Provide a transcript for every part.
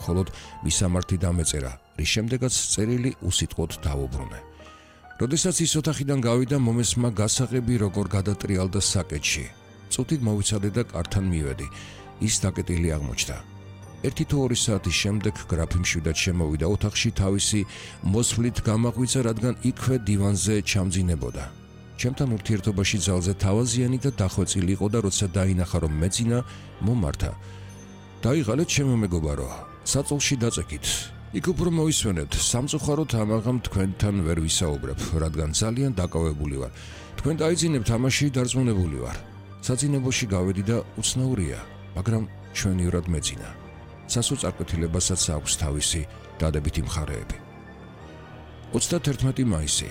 მხოლოდ მისამართი დამეწერა, რის შემდეგაც წერილი უსიტყვოდ დაუბრუნე. როდესაც ის ოთახიდან გავიდა, მომესმა გასაღები როგორ გადატრიალდა საკეთში. წუთით მოვიცადე და კართან მივედი. ის დაკეტილი აღმოჩნდა. 1-2 საათის შემდეგ გრაფი მშვიდად შემოვიდა ოთახში, თავისი მოსვლით გამაღვიძა, რადგან იქვე დივანზე ჩამძინებოდა. ჩემთან ურთიერთობაში ძალზე თავაზიანი და დახვეწილი იყო და როცა დაინახა რომ მეძინა, მომართა. დაიღალეთ ჩემო მეგობარო, საწოლში დაწეკით. იქ უფრო მოისვენებთ, სამწუხაროდ ამაღამ თქვენთან ვერ ვისაუბრებ, რადგან ძალიან დაკავებული ვარ. თქვენ დაიძინებთ, ამაში დარწმუნებული ვარ. საძინებელში გავედი და უცნაურია, მაგრამ ჩვენივრად მეძინა. სასოწარკვეთილებასაც აქვს თავისი დადებითი მხარეები. 31 მაისი.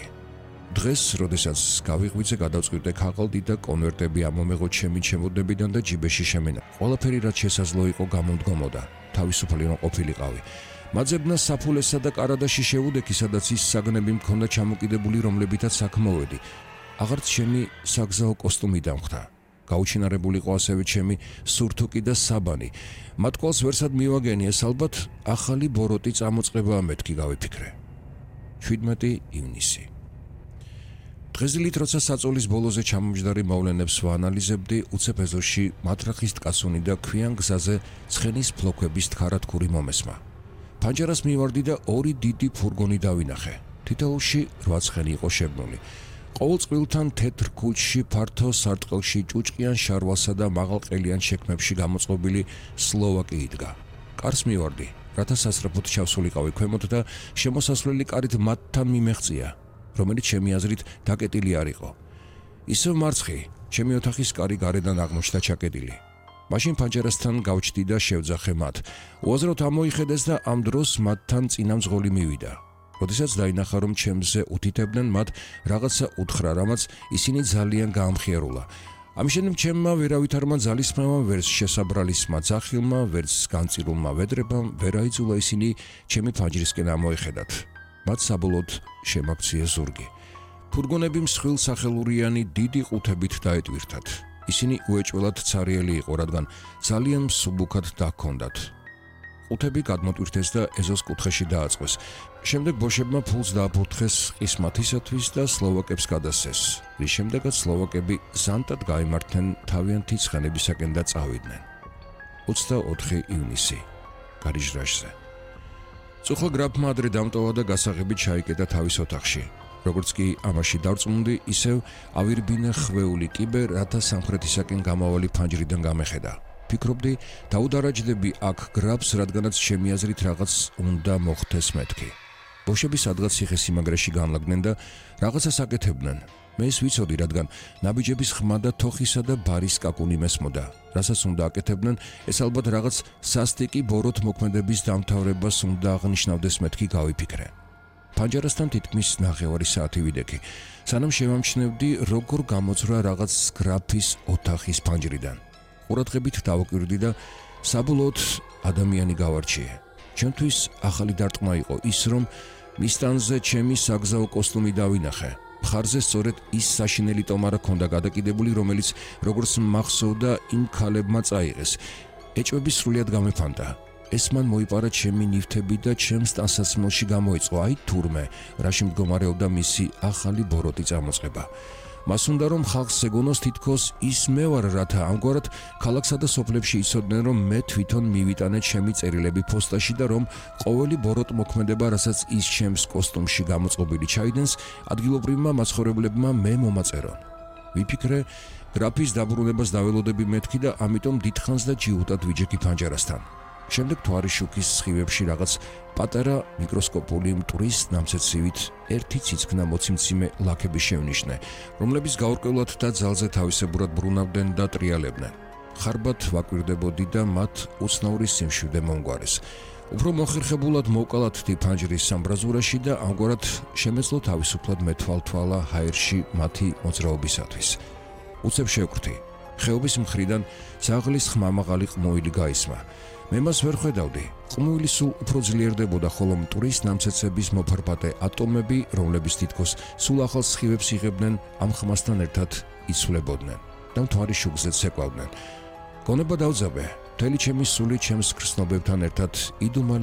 დღეს, როდესაც გავიღვიძე, გადავწყვიტე ქაღალდი და კონვერტები ამომეღო ჩემი ჩემოდნებიდან და ჯიბეში შემენა. ყველაფერი რაც შესაძლო იყო გამომდგომოდა. თავისუფალი რომ ყოფილიყავი. მაძებნა საფულესა და კარადაში შევუდექი, სადაც ის საგნები მქონდა ჩამოკიდებული, რომლებითაც აქ მოვედი. აღარც ჩემი საგზაო კოსტუმი დამხდა. გაუჩინარებული იყო ასევე ჩემი სურთუკი და საბანი. მათ ყველს ვერსად მივაგენი, ეს ალბათ ახალი ბოროტი წამოწყებაა, მეთქი გავიფიქრე. 17 ივნისი. დღესდღეობით როცა საწოლის ბოლოზე ჩამომჯდარი მოვლენებს ვაანალიზებდი, უცებ ეზოში მათრახის ткаსუნი და ქვიან გზაზე ცხენის ფლოქვების თხარათქური მომესმა. ფანჯარას მივარდი და 2 დიდი ფურგონი დავინახე. თითოეულში 8 ცხენი იყო შებნული. ყოველ წყვილთან თეთრ ქუჩში, ფართო სარტყელში, ჭუჭყიან შარვალსა და მაღალყელიან შექმებში გამოწყობილი სლოვაკი იდგა. კარს მივარდი, რათა სასწრაფოდ ჩავსულიყავი ქვემოთ და შემოსასვლელი კარით მათთან მიმეღწია, რომელიც ჩემი აზრით დაკეტილი არ იყო. ისევ მარცხი, ჩემი ოთახის კარი გარედან აღმოჩნდა ჩაკეტილი. მაშინ ფანჯარასთან გავჩდი და შევძახე მათ. უაზროდ ამოიხედეს და ამ დროს მათთან წინამძღოლი მივიდა. როდესაც დაინახა რომ ჩემზე უთითებდნენ, მათ რაღაცა უთხრა, რამაც ისინი ძალიან გაამხიარულა. ამის შემდეგ ჩემმა ვერავითარმა ძალისხმევამ, ვერც შესაბრალისმა ძახილმა, ვერც განწირულმა ვედრებამ ვერ აიძულა ისინი ჩემი ფანჯრისკენ ამოეხედათ. მათ საბოლოოდ შემაქციეს ზურგი. ფურგონები მსხვილ სახელურიანი დიდი ყუთებით დაეტვირთათ. ისინი უეჭველად ცარიელი იყო, რადგან ძალიან მსუბუქად დაქონდათ. ყუთები გადმოტვირთეს და ეზოს კუთხეში დააწყვეს. შემდეგ ბოშებმა ფულს დააფურთხეს ყისმათისათვის და სლოვაკებს გადასცეს, რის შემდეგაც სლოვაკები ზანტად გაიმართნენ თავიანთი ცხენებისაკენ და წავიდნენ. 24 ივნისი. გარიჟრაჟზე. წუხლა გრაფმა ადრე დამტოვა და გასაღებით ჩაიკეტა თავის ოთახში. როგორც კი ამაში დარწმუნდი, ისევ ავირბინა ხვეული კიბე, რათა სამხრეთისაკენ გამავალი ფანჯრიდან გამეხედა. ფიქრობდი, დაუდარაჯდები აქ გრაფს, რადგანაც ჩემი აზრით რაღაც უნდა მოხდეს მეთქი. ბოშები სადღაც ციხესიმაგრეში განლაგდნენ და რაღაცას აკეთებდნენ. მე ეს ვიცოდი, რადგან ნაბიჯების ხმა და თოხისა და ბარის კაკუნი მესმოდა. რასაც უნდა აკეთებდნენ, ეს ალბათ რაღაც სასტიკი ბოროტ მოქმედების დამთავრებას უნდა აღნიშნავდეს, მეთქი გავიფიქრე. ფანჯარასთან თითქმის 9 საათი ვიდექი, სანამ შევამჩნევდი, როგორ გამოძვრა რაღაც გრაფის ოთახის ფანჯრიდან. ყურადღებით დავაკვირდი და საბოლოოდ ადამიანი გავარჩიე. ჩემთვის ახალი დარტყმა იყო ის, რომ მისტანზე ჩემი საგზაო კოსტუმი დავინახე. მხარზე სწორედ ის საშინელი ტომარა ქონდა გადაკიდებული, რომელიც როგორც მახსოვდა იმ ქალებმა წაიღეს. ეჭვები სრულიად გამეფანტა. ეს მან მოიპარა ჩემი ნივთები და ჩემს ტანსაცმელში გამოიწყო, აი თურმე, რაში მდგომარეობდა მისი ახალი ბოროტი წამოწყება. მას უნდა რომ ხალხს ეგონოს თითქოს ის მე ვარ, რათა ამგვარად ქალაქსა და სოფლებში იცოდნენ, რომ მე თვითონ მივიტანე ჩემი წერილები ფოსტაში და რომ ყოველი ბოროტ მოქმედება, რასაც ის ჩემს კოსტუმში გამოწყობილი ჩაიდენს, ადგილობრივმა მაცხოვრებლებმა მე მომაწერონ. ვიფიქრე, გრაფის დაბრუნებას დაველოდები მეთქი და ამიტომ დიდხანს და ჯიუტად ვიჯექი ფანჯარასთან. შემდეგ თვარის შუქის სხივებში რაღაც პატარა მიკროსკოპული მტვრის ნამცეცივით ერთი ციცქნა მოციმციმე ლაქები შევნიშნე, რომლებიც გაურკვევლად და ძალზე თავისებურად ბრუნავდნენ და ტრიალებდნენ. ხარბად ვაკვირდებოდი და მათ უცნაური სიმშვიდე მომგვარეს. უფრო მოხერხებულად მოვკალათდი ფანჯრის სამბრაზურაში და ამგვარად შემეძლო თავისუფლად მეთვალთვალა ჰაერში მათი მოძრაობისათვის. უცებ შევკრთი. ხეობის მხრიდან ძაღლის ხმამაღალი ყმუილი გაისმა. მე მას ვერ ხედავდი. ყმუილი სულ უფრო ძლიერდებოდა, ხოლო მტვრის ნამცეცების მოფარფატე ატომები, რომლებიც თითქოს სულ ახალ სხივებს იღებდნენ, ამ ხმასთან ერთად იცვლებოდნენ და მთვარის შუქზეც ეკვავდნენ. გონება დავძაბე, მთელი ჩემი სული ჩემს გრძნობებთან ერთად იდუმალი